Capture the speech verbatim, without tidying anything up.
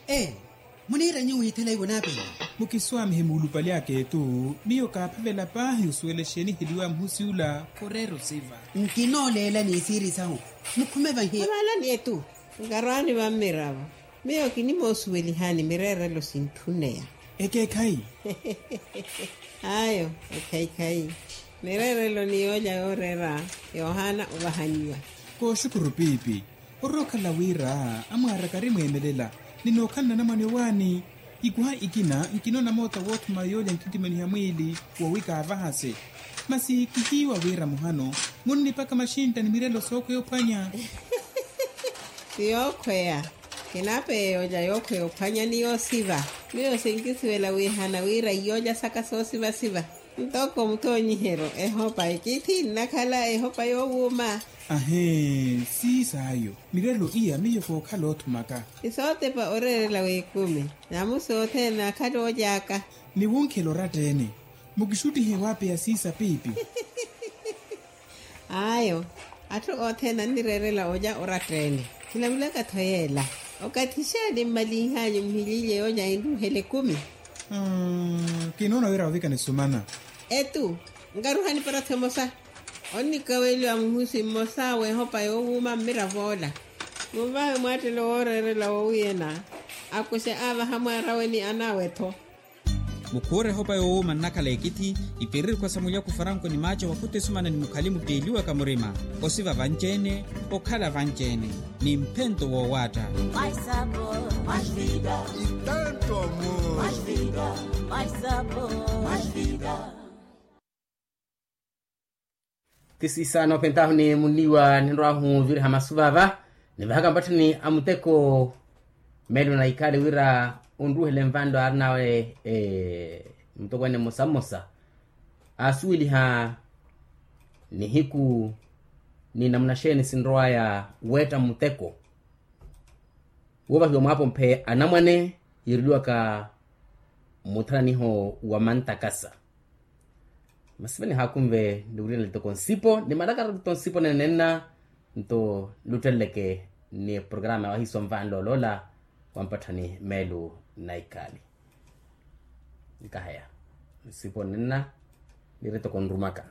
Ee, muniira nyuwo ithela iwo naapeiwa. Mukiswaamihe muulupali aka etu. Miyo kaaphavela paahi osuwela exeeni eheliwaya muhusi ula. Khureera osiva. Nkinooleela ni siiri sahu. Mukhume vahi. Avaalani etu. Nkarwaani vammiravo. Miyo kinimoosuwelihani mireerelo sintthuneya. Ekeekhayi. Ayo, ekhayikhayi. Mireerelo ni yoolya yooreera yoohaana ovahanyiwa. Kooxukuru piipi. Orookhala wira amwaara karimweemelela. Ninookhala nanamwane owaani. Ikuha ikina nkinoona moota woothuma yoolya nkittimaniha mwiili. Wowi kaavahase. Masi kihiiwa wira muhano munnipaka maxintta ni mirelo sookhweya ophwanya. Ti yookhweya. Kinapeya yoolya yookhweya ophwanya ni yoosiva. Miyo sinkisuwela wiihana wira iyoolya saka soosivasiva. Ntoko mutoonyiheryo ehopa ekithi nnakhala ehopa yoowuuma. Ahee, siisaayo. Mirelo iya miyo kookhala oothumaka. Isootepa oreerela w'ekumi. Namusi othene naakhala ooly'aka. Niwunkhela oratteene. Mukixuttihe waapeya siisa piipi. Ayo. Atthu othene annireerela olya oratteene. Kinavulaka-tho yeela. Okathi xaani mmalinh'anyu muhiliilye yoolya enruuhela ekumi? Kinoona wira ovika nisumana. Etu. Nkaruhani para-tho emosa. Onnikaweliwa muhusi mmosa w'ehopa yoowuuma mmirav'ola. Munvahe mwaattelo wooreerela woowiyena. Akuxe aavaha mwaarawe ni anaawe-tho. Mukhuure ehopa yoowuuma nnakhala ekithi. Ipererikhwa sa mulyaku faranko ni maaco wakhuta esumana ni mukhali mutteeliwaka murima. Osiva vanci-ene. Okhala vanci-ene. Ni mphento woowaatta. Ti siisa noopentahu ni munniiwa ninrw'ahu viriha masu vaava. Nivahaka mpatthani a muteko. Meelo na ikhaali wira onruuhele nvanlo aarinawe mutokweene mmosa mmosa aasuweliha nihiku ni namuna xeeni sinrow'aya weetta muteko. Woovahiwa mwaapomphe anamwane yiireliwaka muthananiho wa mantakasa. Masi vene haakunve niwirina litoko nsipo ni malakara litoko nsipo nenenna. Nto lutteleleke ni programa ya wahiiso nvanlolola wa mpatthani meelu na ikhaali. Nkaheya nsipo nenenna. Niire toko nrumaka.